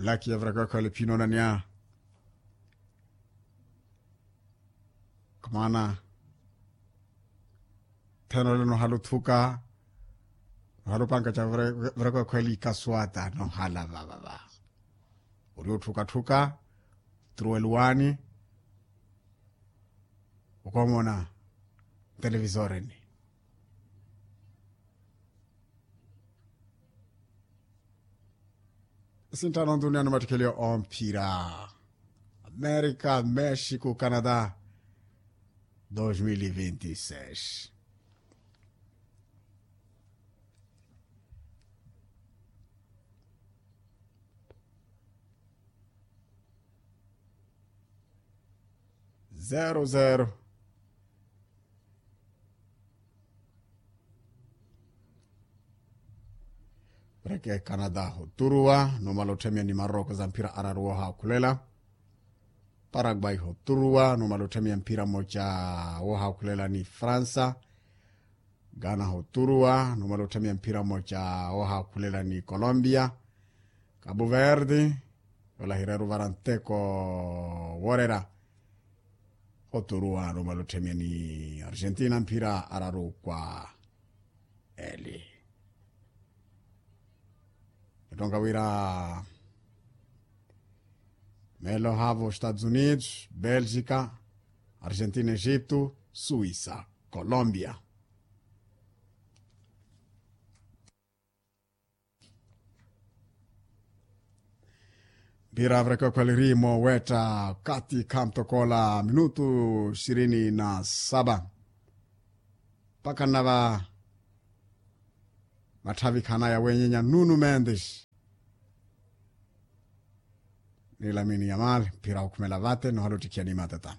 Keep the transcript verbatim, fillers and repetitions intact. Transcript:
Laki ya virakokhole phinoonaniya. Kamaana theno leno haluthuka. Halupanka ca virakokhole ikaswata nohala vavava. Uri othukatthuka. Truweluwani. Okomona televisoreni. Sinttano nduniya ni mattikeliyo omphira amerika mexico canada. Dos mil e vinte e seis. Zero zero. Preke canada hoturuwa numala otthemiya ni maroko za mphira araru woohaakhulela. Paraguay hoturuwa numala otthemiya mphira moca woohaakhulela ni fransa. Ghana hoturuwa numala otthemiya mphira moca woohaakhulela ni colombia. Cabo verde yolahireru vara nteko worera. Oturuwa numala otthemiya ni argentina mphira araru kwa eli. Ettonka wira melo havo estados unidos belgica argentina egito suisa colombia. Mpira virakokhweliri moowetta kati khamtokola minutu ishirini na saba. Mpakha nnava matthavikhanaya wenyenya nunu mendes ni lamini ya mali mpira okhumela vate nohala ottikhiya ni matata.